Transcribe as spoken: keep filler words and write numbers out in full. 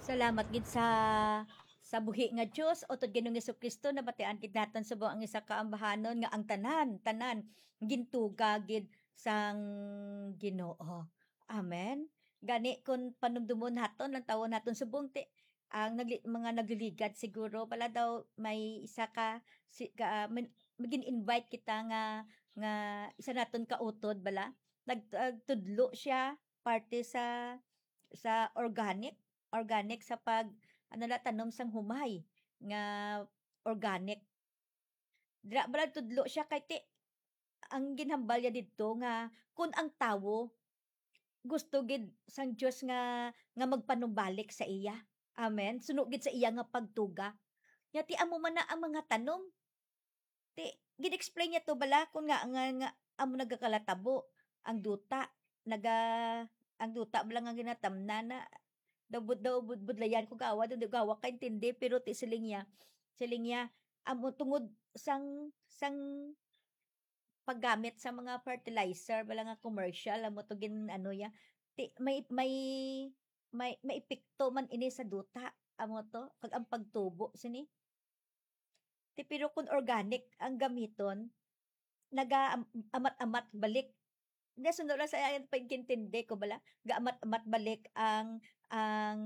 Salamat gid sa, sa buhi nga Dios, utod Ginoong Jesu-Cristo, nabatian gid naton subong ang isa ka ambahanon nga ang tanan, tanan gintuga gid sang Ginoo. Amen. Gani, kung panumdumon naton, lantawon naton subong ti, ang nagli-, mga nagliligad siguro, wala daw may isa ka, si, ka, ah, man-, magin-invite kita nga, nga isa naton kautod, bala? Nag-, nagtudlo siya, parte sa, sa organic, organic sa pag, ano na, tanom sang humay nga organic. Dira bala tudlo siya kay ti, ang ginhambal niya didto nga kun ang tawo gusto gid sang Dios nga, nga magpanumbalik sa iya. Amen. Suno gid sa iya nga pagtuga. Nya ti amo man na ang mga tanom. Ti, gin-explain niya to bala kun nga, nga, nga amo nagakalatabo ang duta, naga-, ang duta bala nga ginatamnan na, daw bud-, daw bud-, budlayan ko gawa, daw di gawa kaintindi, pero ti siling niya, siling niya, amo tungod sang, sang paggamit sa mga fertilizer bala nga commercial, amo to gin-, ano niya, ti, may, may, may, may epekto man ini sa duta, amo to, kag ang pagtubo sini. Ti, pero kung organic ang gamiton, naga-, am-, amat-amat balik. Nasundo lang sa iyang pagkintindi ko bala, gaamat-amat balik ang, ang,